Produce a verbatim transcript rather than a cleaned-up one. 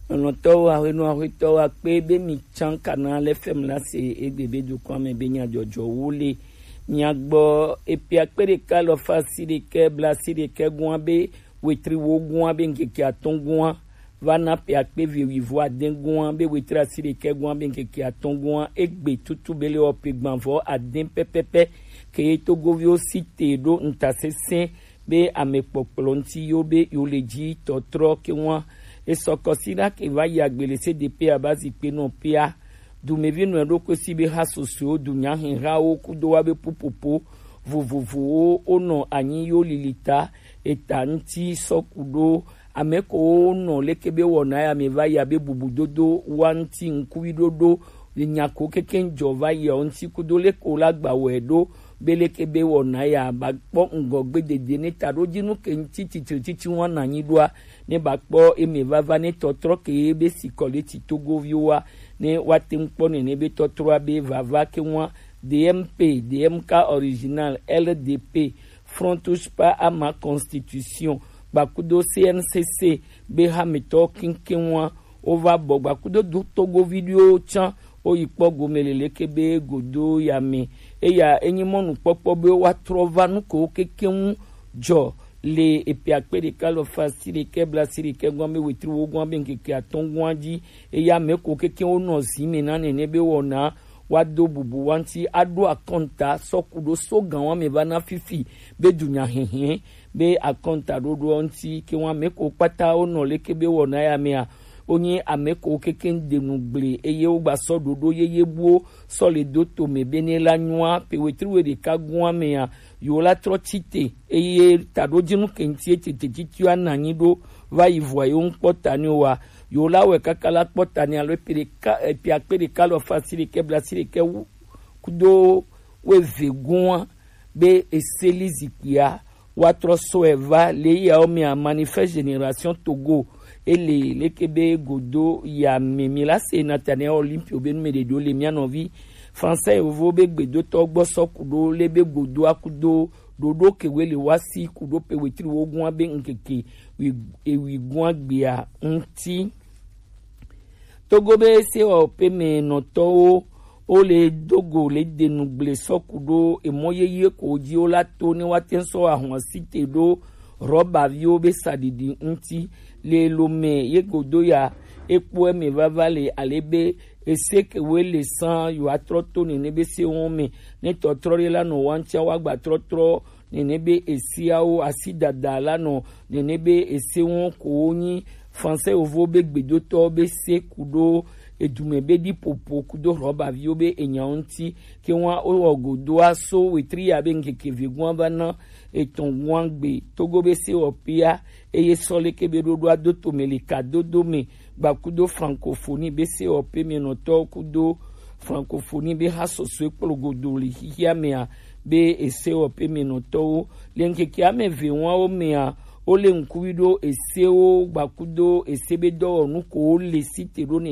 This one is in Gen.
Lɔlɔ̃tɔwo, ahwenu ahwetɔwo akpe be mi tsã kana le fem la se egbe be dukɔa me be nyadzɔdzɔwo le mia gbɔ. Epe akpe ɖeka alafa asiɖekɛ blaasiɖekɛ gɔa be wetri wo gɔa be ŋkeke atɔ̃ gɔa va na pe akpe eve wuivo ade gɔa be wetri asiɖekɛ gɔa be ŋkeke atɔ̃ gɔa egbe tutu be le wɔ pe gbanvɔ ade pɛpɛpɛ ke Togoviwo si te ɖo ŋutasesẽ be amekpɔkplɔ ŋuti yo be yo le dzi tɔtrɔ ke ŋua. Esɔ kɔsiɖa ke va yi agbe le C D P aba zikpe nɔ pea. Dumevi nɔ ɖokui si be ha sosoewo, dunyahihawo kudo wa be pupopo vovovowo wonɔ anyi yo lilita eta ŋuti sɔ ku ɖo ame ko wonɔ leke be wɔna ya me va yi abe bubudodo wa ŋuti ŋkuvi ɖoɖo nya ko keke jɔ va yi ŋuti kudo leke wo la gba wɔe ɖo be leke be wɔna ya ba kpɔ ŋgɔgbe dede ne ta ɖo dzi nu ke ŋuti titri titi wa na nyi ɖoa ne ba kpɔ eme vava ne tɔtrɔ ke be si kɔ le ti Togoviwo wa ne wa te ŋu kpɔ nene be tɔtrɔa be vava ke ŋua D M P, D M K original, L D P, Front Touche Pas à ma Constitution, gbakudo C N C C be hametɔ kinkɛn wa wo va bɔ gbakudo du Togovi ɖewo tsã wo yi kpɔ gome le leke be godo ya me. Eya enyi mɔnukpɔkpɔ be wa trɔ va nu ko keke ŋu jɔ le epe akpe ɖeka alafa asiɖekɛ blaasiɖekɛ gɔa be wetri wo gɔa be ŋkeke atɔ̃ gɔa dzi. Eya me ko keke wo nɔ zi me na nene be wɔna wa do bubu wa ŋuti aɖo akɔnta sɔ ku ɖo so gan wa me va na fifi be dunya hihi be akɔnta ɖoɖoa ŋuti ke wa me ko kpata wo nɔ leke be wɔna ya mea wonye ame ko keke de nu gble eye wo gba sɔ ɖoɖo yeye buwo sɔ le do to me be ne la nyua pe wetri we ɖeka gɔa mea yo la trɔ tsi te eye taɖodzinu ke ŋuti ete te titi wa na nyi ɖo va yi vɔa yo ŋkpɔ ta ni wa yo la wɛ kaka la kpɔ ta ni alo epe ɖeka epe akpe ɖeka alafa asiɖekɛ blaasiɖekɛ wu kudo weve gɔa be eseli zikpuia wa trɔ sɔe va le yawo mea Manifeste Génération Togo ele leke be godo ya me mi la se Nathaniel Olympio be nu me ɖeɖo le mia nɔvi Français yovo be gbedotɔ gbɔ sɔ ku ɖo le be godo akudo ɖoɖo ke we le wa si ku ɖo pe wetri wo gɔa be ŋkeke wi ewi gɔa gbea ŋuti. Togo be sewɔƒe me nɔtɔwo wo le do go le de nu gble sɔ ku ɖo emɔ yeye ko dzi wo la to ne wa te sɔ ahɔn si te ɖo rɔbaviwo be saɖiɖi ŋuti le lo me ye godo ya ekpɔ eme vava le ale be ese ke we le san yo atrɔ to nene be se wɔn me ne tɔtrɔ ɖe la nɔ wa ŋutia wa gba trɔtrɔ nene be esiawo asi dada la nɔ nene be ese wɔn ko wo nyi Français yovo be gbedotɔ be se ku ɖo edume be ɖi popo kudo rɔbaviwo be enyawo ŋuti ke wa wo wɔ godoa so wetri ya be ŋkeke ve gɔa va na etɔn gɔa gbe Togo be sewɔƒea eye sɔ leke be ɖoɖoa do to me le ka dodo me gbakudo francophonie be sewɔƒe me nɔtɔ kudo francophonie be ha sɔsɔe kplo godo le xixia mea be esewɔƒe me nɔtɔwo le ŋkeke ame eve wɔawo mea wo le ŋkuvi ɖo esewo gbakudo ese be dɔwɔnu ko wo le si te ɖo nene